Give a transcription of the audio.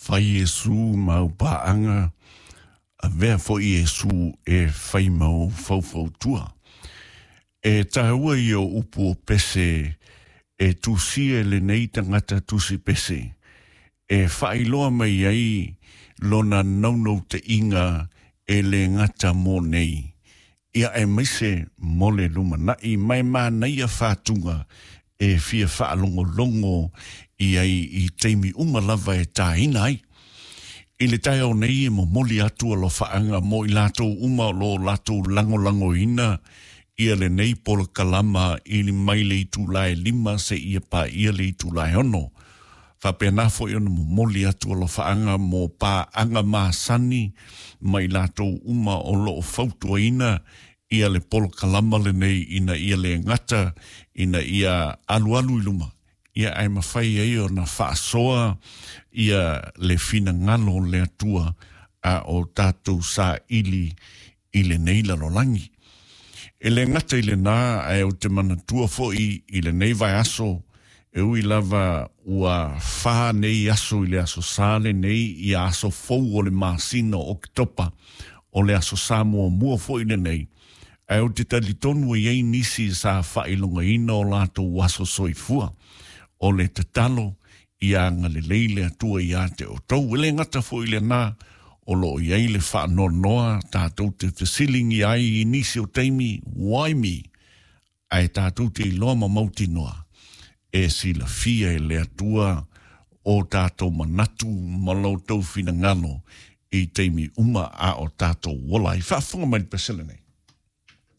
Fai Iesu ma au paaga, avea foi Iesu e fai ma ou faufautua. E tāua ia o upu o pese e tusia e lenei tagata tusi pese, e faailoa mai ai lona naunautaiga e le gata mo nei, ia aemaise mo le lumanai ma e manaia fatuga e fia faalogologo i ai i taimi uma lava e tāina ai. I le taeao nei e momoli atu alofaaga mo i latou uma o lo o latou lagolagoina ia lenei polokalama i mai le itula e 5 seia paia le itula e 6. Faapena foi ona momoli atu alofaaga mo paaga masani ma i latou uma o lo o fautuaina ia le polokalama lenei ina ia le gata ina ia alualu i luma, ia ae mafai ai ona faasoa ia le finagalo o le Atua a o tatou saili i lenei lalolagi. E le gata i lena, ae ou te manatua foi i lenei vaiaso, e ui lava ua fa nei aso i le aso Sa lenei, ia aso fou o le masina o Oketopa, o le aso Sa muamua foi lenei, ae ou te talitonu e i ai nisi sa faailogaina o latou aso soifua. O le tatalo ia agalelei le Atua ia te outou. E le gata foi i lena, o lo o i ai le faanoanoa tatou te fesiligia ai i nisi o taimi, why me? Ae tatou te iloa ma mautinoa, e silafia e le Atua o tatou manatu ma lo outou finagalo i taimi uma a o tatou ola ai. Faafofoga mai le pese lenei.